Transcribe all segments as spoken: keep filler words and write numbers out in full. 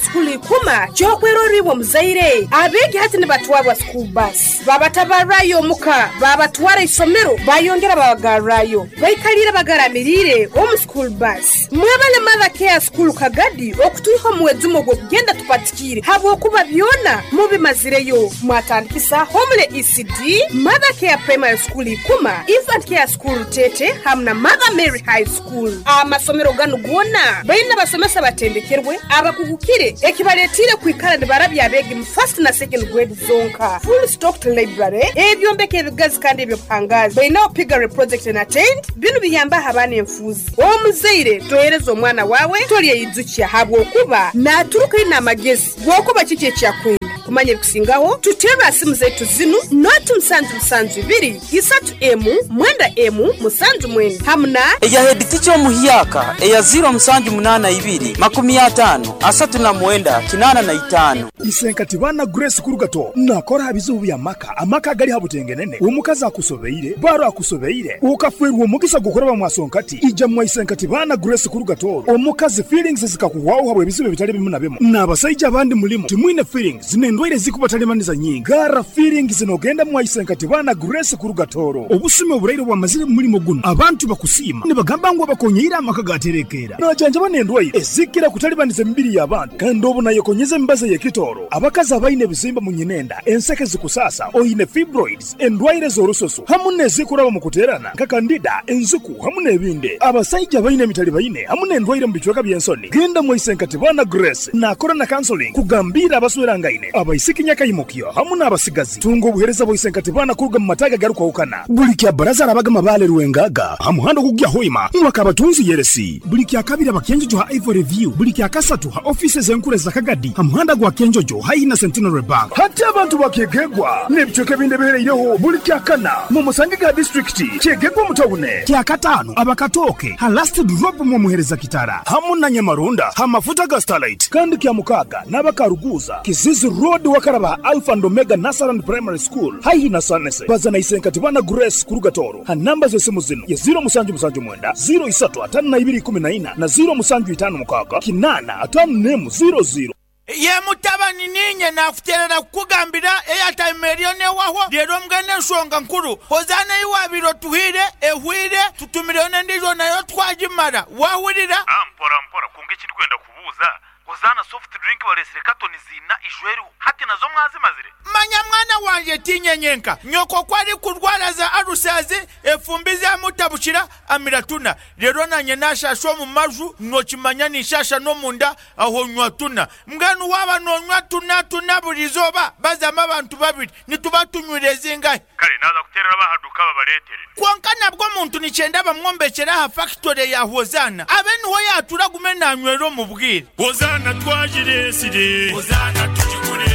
School ikuma kyokweroribwa muzaire abegi hati nibatwarwa school bus babatabarayo muka babatwara isomero bayongera babagarrayo baikalira bagaramirire omu school bus mwebale Mother Care School Kagadi okutuiho muwezumo gwo kugenda tupatikire habwokuba byona mubimazireyo mwatandikisa Homele E C D Mother Care Primary School ikuma Infant Care School Tete hamna Mother Mary High School. Amasomero ganu gona baina basomesa batendekerwe abakugukire ekibaletire kwikala nibarabya abegi mu first na second grade zonka. Full stocked library ebyombeko ebigazi kandi ebyobuhangazi baina piggery project na tent binu biyamba habana enfuzi. Omuzaire tohereza omwana wawe tolye yizukia habwokuba naturuka ina amagezi gwokuba kiki ekyakwenda kumanya ebikusingaho tutera simu zetu zinu noti musanju musanju ibiri isatu emu mwenda emu musanju mwenda hamna eya head teacher omuhiyaka eya zero musanju munana ibiri makumi atano asatu na mwenda kinana na itano. Isenkati bana Grace Kurugato nakora bizubu bya maka amaka gali habutengenene omukazi akusobeire baro akusobeire ukafwerwa omugisa gukora bamwasonkati ija mwa Isenkati bana Grace Kurugato omukazi feelings zikakuwaho habwe bizubu bitali bimu na bimu n'abasajja abandi mulimo timwine feelings zinendwaire zikubatalemaniza nyingi gara feelings zinogenda mwa Isenkati bana Grace Kurugatoro obusime oburaire bwamazire mulimo guno abantu bakusima nibagamba ngo bakonyeira amaka gaterekera najanja banendwaire ezikira kutalibaniza emibiri y'abantu kandi obu nayekonyeza embaza yekitoro abakazi abaine bizimba mu nyinenda enseke zikusasa oyine fibroids endwaire z'orusoso hamu nezikuraba mu kuterana nka kandida enzuku hamu n'ebindi abasajja baine emitali baine hamu n'endwaire mu bicweka by'ensoni genda mwa Isenkati bana Grace nakora na counseling kugambira abaswerangaine abaisiki nyakayimukyo hamu n'abasigazi tunga obuhereza bwa Isenkati bana kuruga mu mataga garukwahukana buli kya baraza arabaga mabale ruwengaga hamuhando kugya hoima mwakabatunzi yeresi buli kya kabiri abakenjojo ha Ivory View buli kya kasatu ha offices enkure za Kagadi hamuhanda gwa Kenjojo haina Centenary Bank hati abantu bakegegwa n'ebicweka ebindi bihereireho buli kya kana mu Musangiga district kyegegwa mutawune kya katano abakatoke ha last drop mu muhereza kitara hamu na Nyamarunda ha mafuta ga Starlight kandi kya mukaga n'abakaruguza Kizizi Road wakaraba Alpha and Omega Nasaran Primary School haihi na Sanese bazana Isenkati bana Grace Kurugatoro ha namba z'esimu zino ya zero musanju musanju mwenda zero isatu atano na ibiri kumi na ina na zero musanju itano mukaga kinana atano nemu zero zero. Ye mutabani ninye nakuterera kukugambira airtime eriyo newaho rero mbwene ensonga nkuru hozana iwabiro tuhire ehwire tutumireyo n'endijo nayo twagimara wahurira mpora mpora kunga ekindi kwenda kubuuza Hozana soft drink balesire katoni zina ishweru hati nazo mwazimazire manya mwana wanje tinyenyenka nyoko kwari kurwara za arusazi efumbi za mutabushira amiratuna rero nanye nashasho mu maju nokimanya nishasha no munda aho nywa tuna mbwenu waba nonywa tuna tuna burizoba bazama abantu babiri nituba tunywire zingahe kale naza kuterera bahaduka babaletere konka nabwo muntu nicyenda bamwombekera ha factory ya Hozana abe niho yatura gume nanywero mu bwire Hozana twajiresire Hozana tujigure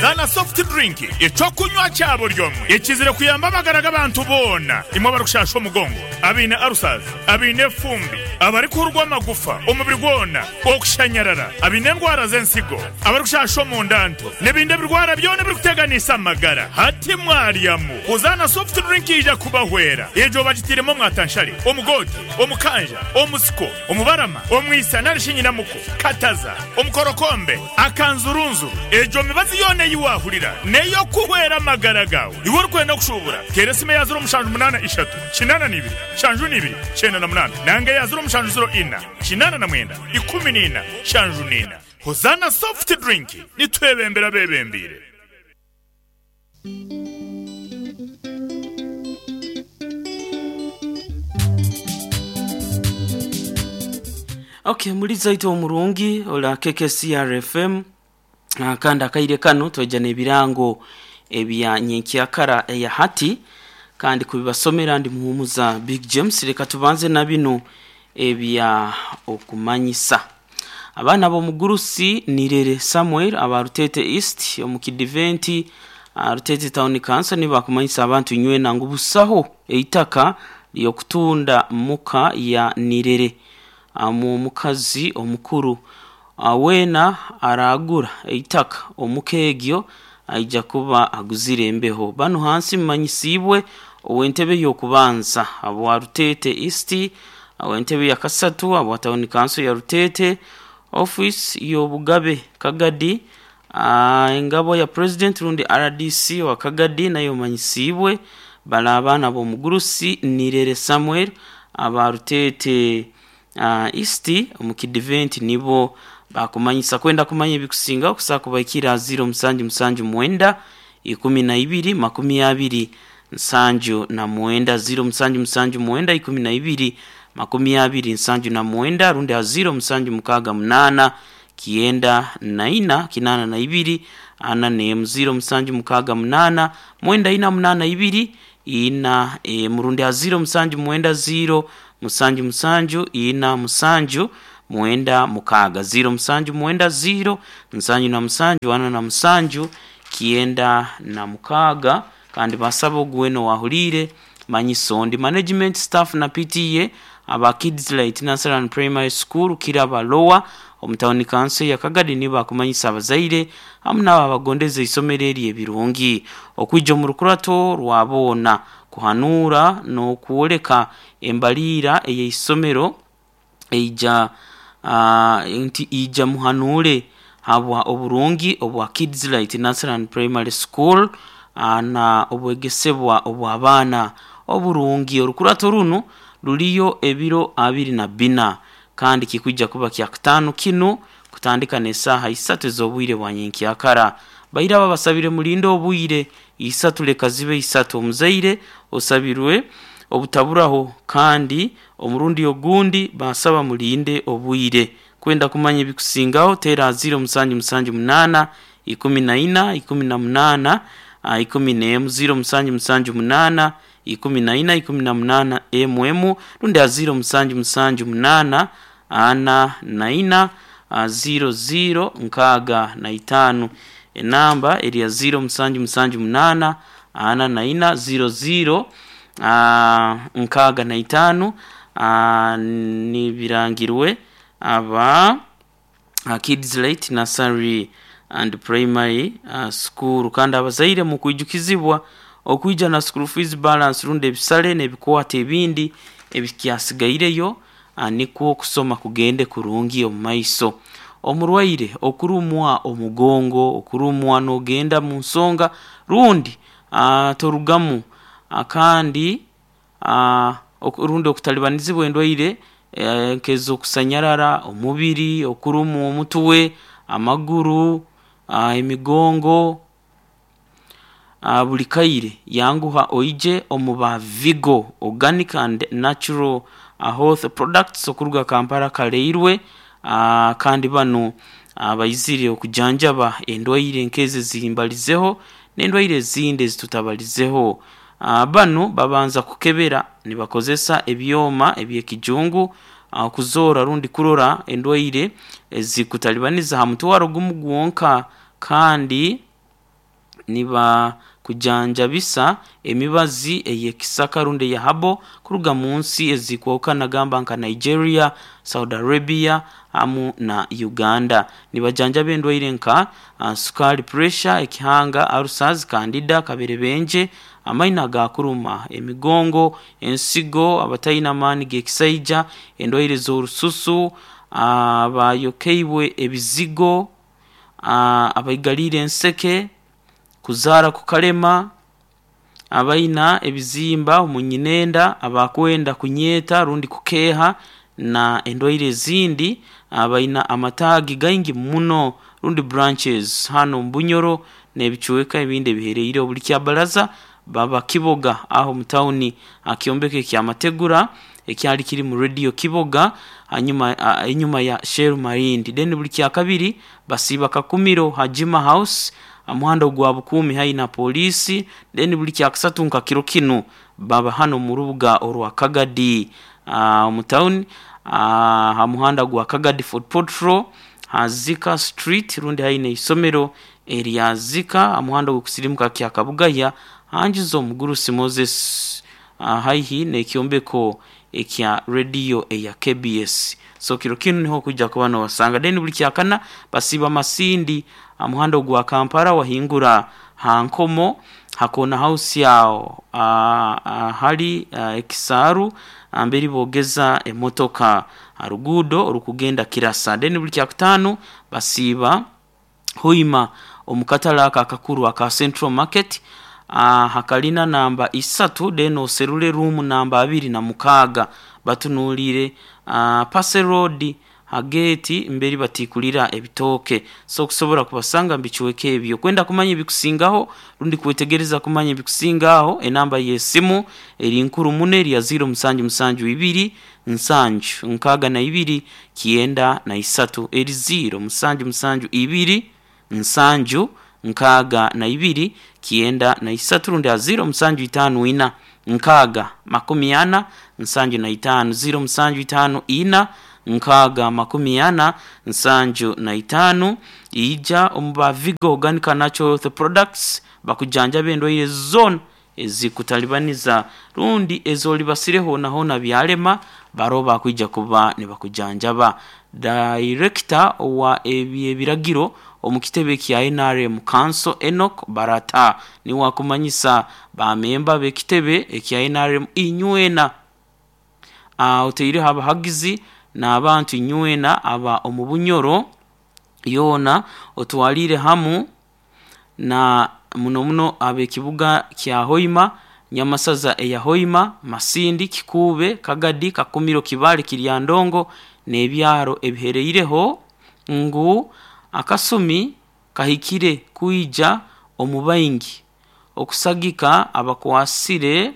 Zana soft drink echokunywa cyabo ryomwe ekizire kuyamba amagara abantu bona imwe barukushasha omugongo abine arusaz abine fumbi abari kurwa amagufa omubiri gwona okushanyarara abine ndwara z'ensigo abarukushasha omundanto n'ebindi birwara byona birikuteganisa amagara hati mwaryamu Hozana soft drink ija kubahwera ejo bagitiremo mwatanshari omugoti omukanja omusiko omubarama omwisa narishinyinamuko kataza omukorokombe akanzurunzuru ejo mibazi yone yiwahurira neyo kuhwera amagara gawe iwe urikwenda kushubura teresime ya zero mushanju munana ishatu kinana nibiri shanju nibiri chenda na munana nange ya zero mushanju zero ina kinana na mwenda ikumi nina shanju nina. Hozana soft drink nitwebembera bebembire. Okay, muliza ito omurungi ola K K C R F M kandi akaire kano tweja n'ebirango ebya nyenkyakara eya hati kandi kubibasomera ndi muhumuza Big James. Reka tubanze na bino ebya okumanyisa abaana b'omugurusi Nirere Samuel aba Rutete East omukidiventi Rutete Town Council nibakumanyisa abantu nywe nangu busaho eitaka lyokutunda muka ya Nirere amu mukazi omukuru awena aragura eitaka omukegyo aija kuba aguzire embeho bano hansi mmanyisibwe owentebe yokubanza abo Rutete East awentebe ya kasatu abo Town Council ya Rutete Office y'obugabe Kagadi, uh, engabo ya president rundi R D C wa Kagadi nayo manyisibwe bala abaana b'omugurusi Nirere Samuel aba Rutete uh, East omu kidiventi nibo bakumanyisa. Kwenda kumanya ebikusinga okusa kubaikira ziro musanju musanju mwenda ikumi na ibiri makumi abiri nsanju na mwenda, ziro musanju musanju mwenda ikumi na ibiri makumi abiri nsanju na mwenda, rundi a ziro musanju mukaga munana kienda na ina kinana na ibiri ana nemu, ziro musanju mukaga munana mwenda ina munana ibiri ina e, murundi a ziro musanju mwenda ziro musanju musanju ina musanju mwenda mukaga, ziro musanju mwenda ziro musanju na musanju ana na musanju kienda na mukaga. Kandi basaba ogweno wahulire manyisondi management staff na P T A aba Kids Light Nursery and Primary School Kiraba Lower omutawuni kanso ya Kagadi niba kumanyisa abazaire hamwe n'abo abagondeze isomero eri ebirungi okwijja mu rukurato rwabona kuhanura n'okwoleka embaliira ey'isomero eija uh, nti ija muhanure habwa oburungi obwa Kids Light Nursery and Primary School uh, na obwegesebwa obw'abaana oburungi. Orukurato runo ruliyo ebiro abiri na bina kandi kikujja kuba kya kutano kino kutandika n'esaaha isatu ez'obwire bwa nyenkyakara. Baira aba basabire mulindo obwire isatu leka zibe isatu. Omuzaire osabirwe obutaburaho kandi omurundi ogundi basaba mulinde obwire. Kwenda kumanya ebikusingaho tera ziro musanju musanju munana ikumi na ina ikumi na munana ikumi n'emu, ziro musanju musanju munana ikumi na ina ikumi na munana emu emu, rundi ziro musanju musanju munana ana na ina ziro ziro nkaga na itanu. Enamba eri ya ziro musanju musanju munana ana na ina ziro ziro nkaga na itanu. Nibirangirwe aba Kids Light Nursery and Primary uh, School. Kandi abazaire mu kwijukizibwa okuija na school fees balance rundi ebisale n'ebikwata ebindi ebikyasigaireyo nikwo okusoma kugende kurungi omu maiso. Omurwaire okurumwa omugongo, okurumwa n'ogenda mu nsonga rundi uh, torugamu uh, kandi uh, rundi okutalibanizibwa endwaire nk'ez'okusanyarara omubiri, okurumwa omutwe, amaguru, uh, emigongo uh, buli kaire yanguha oije omuba Vigo Organic and Natural uh, Health Products okuruga Kampala Kaleirwe. uh, kandi bano uh, baizire okujanjaba endwaire nk'ezi zimbalizeho n'endwaire ezindi ezitutabalizeho. Uh, bano babanza kukebera nibakozesa ebyoma ebyekijungu uh, kuzora rundi kurora endwaire ezikutalibaniza ha mutwaro gumu gwonka, kandi niba kujanjabisa emibazi eyekisaka rundi ya habo kuruga munsi ezikwoka gamba nka Nigeria, Saudi Arabia amu na Uganda. Nibajanjaba endwaire nka uh, sukari, pressure, ekihanga, ulcers, candida, kaberebenje, amaina gakuruma, emigongo, ensigo, abatayina amaani gekisaija, endwaire z'orususu, abayokeibwe ebizigo, uh, abaigalire enseke, kuzara kukalema, abaina ebizimba omunyinenda, abakwenda kunyeta rundi kukeha na endwaire ezindi, abaina amatagi gaingi muno rundi branches hano mbunyoro n'ebicuweka ebindi ebihereire obuli kyabalaza baba Kiboga aho mutawuni akiombeke kya Mategura ekyali kiri mu radio Kiboga hanyuma inyuma ya Shell Marindi. Then buli kya kabiri basiba Kakumiro Hajima House amuhanda gwa Bukumi haina polisi. Then buli kya kasatu nka kiro kino baba hano mu rubuga orwa Kagadi uh, mu town uh, hamuhanda gwa Kagadi Fort Potro Hazika Street rundi haina isomero eri Zika amuhanda gwokusirimuka kya Kabugaya hanjizo Mugurusi Moses uh, haihi n'ekyombeko ekya radio eya K B S. So kiro kino niho kujja kubano wasanga. Then buli kyakana basiba Masindi amuhanda gwa Kampala wahingura hankomo hakona house yao uh, uh, hali uh, ekisaru amberi bogeza emotoka. Harugudo orukugenda Kirasa. Then buli kyakutaano basiiba Hoima omukatale aka akakuru aka Central Market, uh, hakalina namba isatu, then oserule room namba abiri na mukaaga, batunuulire uh, Pase Road hageti mberi batikulira ebitooke. So okusobola kubasanga mbikiweka ebyo. Kwenda kumanya ebikusingaho rundi kwetegereza kumanya ebikusingaho, enamba y'esimu eri nkuru muno eri ya ziro musanju musanju ibiri nsanju nkaaga na ibiri kyenda na isatu, eri ziro musanju musanju ibiri nsanju nkaaga na ibiri kyenda na isatu, rundi ya ziro musanju itaano ina nkaaga makumi ana nsanju na itaano, ziro musanju itaano ina nkaaga makumi ana nsanju na itaano. Ija omu ba Vigo Organic Natural Health Products bakujanjaba endwaire zona ezikutalibaniza rundi ezolibasire hona hona byalema, baro bakwija kuba nibakujanjaba. Director wa ebyebiragiro omu kitebe kya N R M Council Enoch Barata niwe akumanyisa bamemba b'ekitebe ekya N R M inywena, uh, oteireho abahagizi n'abantu inywena aba omu Bunyoro yoona, otwalire hamu na muno muno ab'ekibuga kya Hoima, Nyamasaza eya Hoima, Masindi, Kikuube, Kagadi, Kakumiro, Kibale, Kiryandongo n'ebyaro ebihereireho ngu akasumi kahikire kwija omu baingi okusagika abakwasire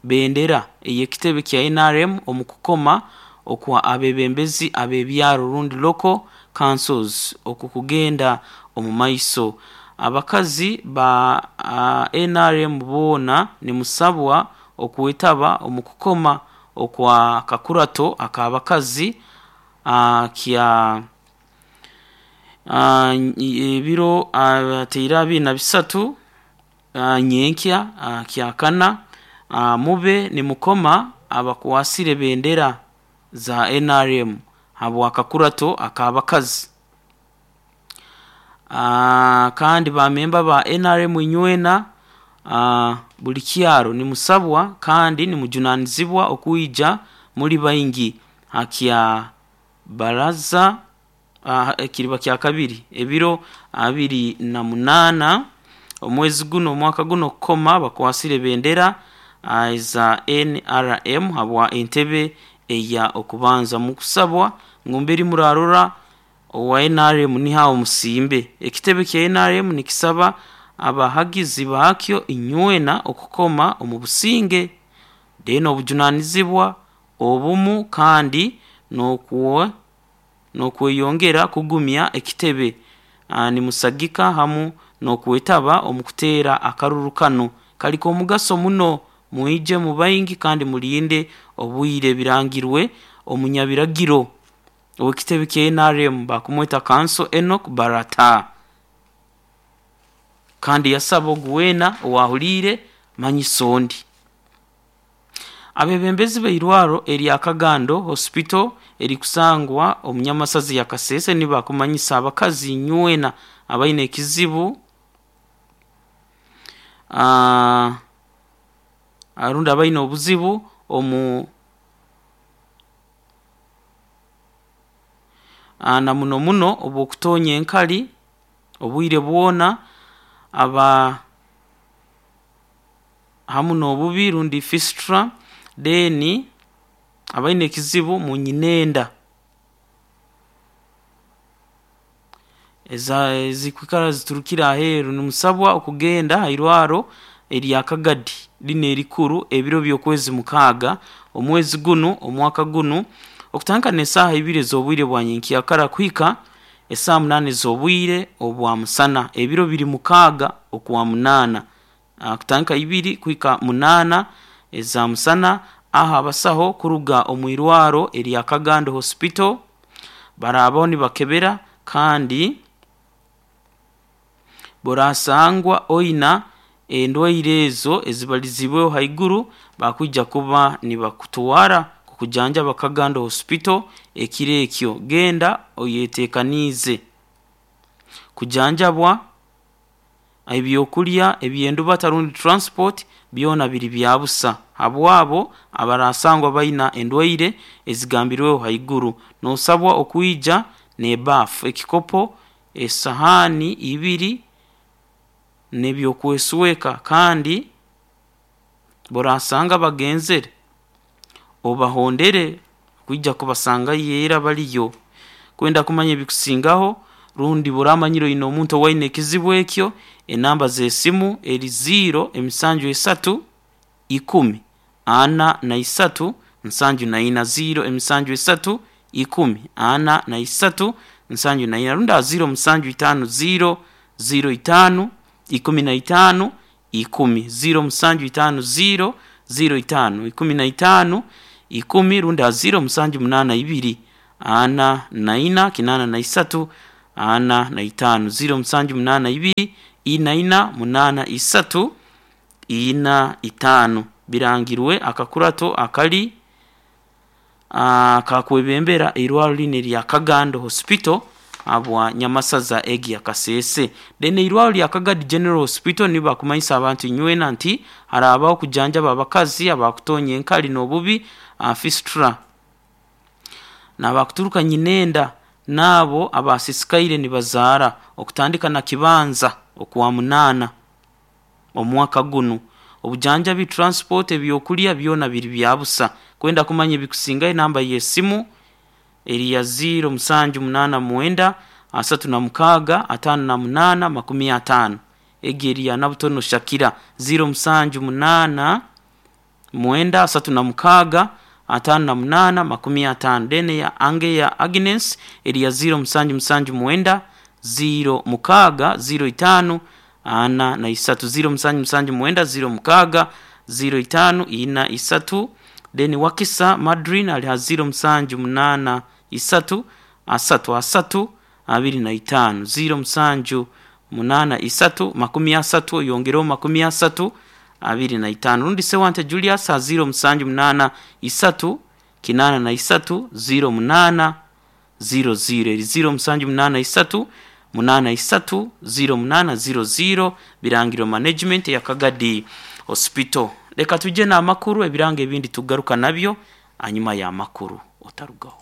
bendera ey'ekitebe kya N R M omu kukoma okwa abebembezi ab'ebyaro rundi local councils okukugenda omu maiso. Abakazi ba uh, N R M boona nimusabwa okwetaba omu kukoma okwa kakurato ak'abakazi uh, kya uh, ebiro ateire abiri na bisatu uh, nyenkya uh, kyakana, uh, mube nimukoma abakwasire bendera za N R M habwa kakurato ak'abakazi. Uh, kandi bamemba ba N R M inywena uh, buli kyaro nimusabwa kandi nimujunanizibwa okwija muri baingi hakya baraza uh, ekiriba kya kabiri ebiro abiri na munana omwezi guno omwaka guno kukoma bakwasire bendera uh, za N R M habwa entebe eya okubanza mukusabwa ngumberi murarora owa N R M niha omusimbe. Ekitebe kya N R M nikisaba abahagizi bakyo inywena okukoma omu businge deno obujunanizibwa obumu kandi n'okuwa n'okweyongera kugumya ekitebe nimusagika hamu n'okwetaba omu kuteera akaruru kano kaliko omugaso muno. Mwije mu baingi kandi mulinde obwire birangirwe omunyabiragiro owekitebe kya N R M bakumweta Kanso Enoch Barata. Kandi yasaba oguwena owahulire manyisondi. Abebembezi b'eirwaro erya Kagando Hospital erikusangwa omunyamasazi ya Kasese nibakumanyisa abakazi nywena abaine ekizibu uh, arundi abaine obuzibu omu na muno muno obwokutonya enkali obwire bwona aba hamu n'obubi rundi fistula deni abaine ekizibu mu nyinenda eza ezikwikara ziturukira aheeru nimusabwa okugenda hairwaro erya Kagadi lino erikuru ebiro by'okwezi mukaaga omwezi guno omwaka guno okutandika n'esaaha ibiri ez'obwire bwa nyenkyakara kuhika esaaha munaana ez'obwire obwa musana ebiro biri mukaaga okwa munaana kutandika ibiri kuhika munaana eza musana. Aha abasaho kuruga omu irwaro erya Kagando Hospital barabaho nibakebera kandi borasangwa oina endwaire ezo ezibalizibweho haiguru bakwija kuba nibakutwara kukujanjaba Kagando Hospital ekiro ekyo. Genda oyetekanize kujanjabwa ebyokulya ebyendubata rundi transport byona biri byabusa habwabo abarasangwa baina endwaire ezigambirweho haiguru. Nosabwa okuija nebafu, ekikopo, esahani ibiri nebyokwesweka, kandi borasanga bagenzere obahondere kwijja kubasanga yera baliyo. Kwenda kumanya ebikusingaho rundi buramanyiro ino omuntu waine ekizibu ekyo, enamba z'esimu eri ziro emisanju esatu ikumi ana na isatu nsanju na ina, ziro emisanju esatu ikumi ana na isatu nsanju na ina, runda ziro musanju itano ziro ziro itano ikumi na itano ikumi, ziro musanju itano ziro ziro itano ikumi na itano ikumi, runda ziro musanju munana ibiri ana na ina kinana na isatu ana na itano, ziro musanju munana ibiri ina ina munana isatu ina itano. Birangirwe akakurato akali akakwebembera irwaro line lya Kagando Hospital abwa Nyamasaza egi ya Kasese. Dene irwaro lya Kagadi General Hospital niba kumanyisa abantu nywena nti harabaho kujanjaba abakazi abakutonya enkali n'obubi fistula n'abakuturuka nyinenda nabo abasisikaire nibazaara okutandika na kibanza okuwa munana omwaka guno. Obujanjabi, transport, ebyokulya byona biri byabusa. Kwenda kumanya ebikusinga enamba y'esimu eri ya ziro musanju munana mwenda asatu na mukaga atano na munana makumi atano. Egi eri ya Nabutono Shakira ziro musanju munana mwenda asatu na mukaga atano na munana makumi atano. Dene ya Ange ya Agnes eri ya ziro musanju musanju mwenda ziro mukaga ziro itano ana na isatu, ziro musanju musanju mwenda ziro mukaga ziro itano ina isatu. Deni Wakisa Madrin ali ziro musanju munana isatu asatu asatu abiri na itano, ziro musanju munana isatu makumi asatu yongereo makumi asatu abiri na itano. Rundi Sewante Julius ziro musanju munana isatu kinana na isatu ziro munana ziro ziro, ziro musanju munana isatu munana isatu ziro munana ziro ziro. Birangiro management ya Kagadi Hospital. Reka tuje na makuru ebirango ebindi tugaruka nabyo anyuma ya makuru otarugaho.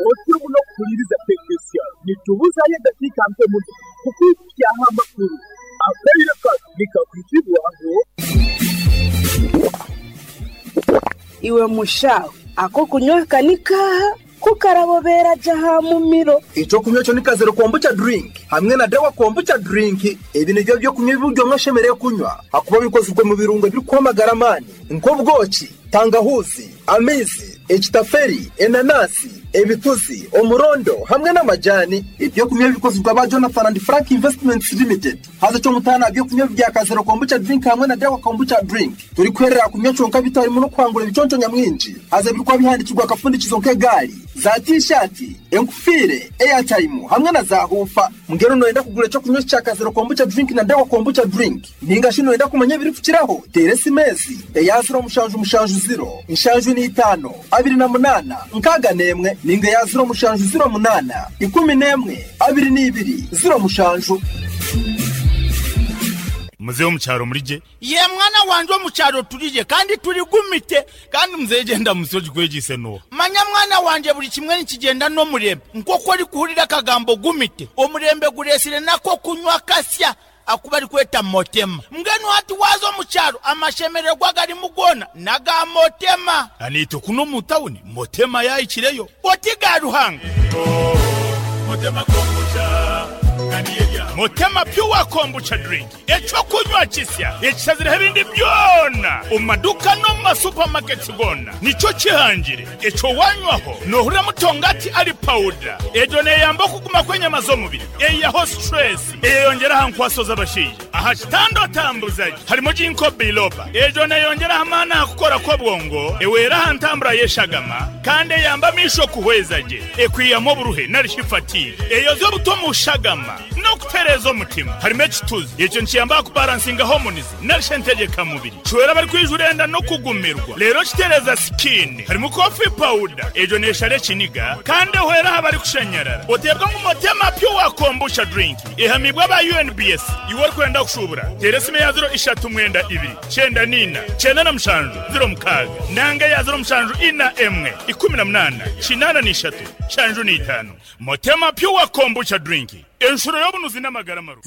Otirumu no kuliriza tekesya nitubuza ye dakika mpe muno kukuya amakuru akaire nikakwitibwaho iwe mushaho ako kunywa kanika kukarabobera jaha mumiro. Ico kunywa cyo nikazero kombucha drink hamwe na dawa kombucha drink. Ebi nivyo byo kunywa ibyo mwashemereye kunywa hakuba bikozwe mu birungo biri kwamagara amani nk'ubwoki, tangahuzi, amizi, ekitaferi, enanasi, ebituzi, omurondo hamwe n'amajani. Ibyo kunywa bikozwe ba Jonathan and Frank Investments Limited. Haza cyo mutana byo kunywa bya kazero kombucha drink hamwe na dawa kombucha drink. Turi kwerera kunywa conka bitari mu no kwangura ibiconco nyamwinji. Haza birikwa bihandikirwa akafundikizo nk'egari, za t-shirt, enkufire, airtime hamwe na za hufa. Mugero noenda kugura cyo kunywa cya kazero kombucha drink na dawa kombucha drink. Ninga shino enda kumanya biri kukiraho. Teresi mezi, eyaziro mushanju mushanju zero, inshanju ni itano, abiri na munana, nkaga nemwe, ninga ya zero mushanju zero munana, ikumi nemwe, abiri n'ibiri, zero mushanju. Mzee omukyaro mulije? Ye mwana wanje omukyaro tulije kandi tuli gumite. Kandi mzee genda musoji kwegise no. Manya mwana wanje buli kimwe nikigenda n'omurembe. Nk'oku ori kuhurira akagambo gumite, omurembe guresire nako kunywa kasya akuba ari kweta motema. Mbwenu hati wazo omukyaro amashemererwa gari mugona naga motema. Anito kuno mu tawuni motema yayikireyo. Oti ga Ruhanga. Oh, motema kombucha. Motema pure kombucha drink echo kunywa kisya ekisazira ebindi byona omumaduka no mu supermarket gona nico kihangire echo wanywaho nohura mutongati ali powder ejo neyamba kuguma kwenyama z'omubiri eyaho stress eyongera hankwaso z'abashije aha kitando tambuzaji harimo jinko biloba ejo neyongera hamana kukora kwa bwongo ewera hantambura yeshagama kandi yamba misho kuhwezaje ekwiyamo buruhe narishifati eyo zo butomushagama no kutera Kitereza omutima. Harimu ekituzi ekyo nikiyamba kubalansinga hormones narisha entegeka mubiri. Kiwera bari kwijura enda no kugumirwa. Rero kitereza skin. Harimu coffee powder ejo neshare kiniga kandi ehwera abari kushanyarara. Otebwa ngu Motema Pure Kombucha drink ihamibwa ba U N B S. Iwe orikwenda kushubura, tera esimu ya zero ishatu mwenda ibiri cyenda nina cyenda na mushanju zero mukaaga nanga ya zero mushanju ina emwe ikumi na munana kinana n'ishatu shanju n'itanu. Motema Pure Kombucha drink, enshuro y'obunuzi n'amagara maru.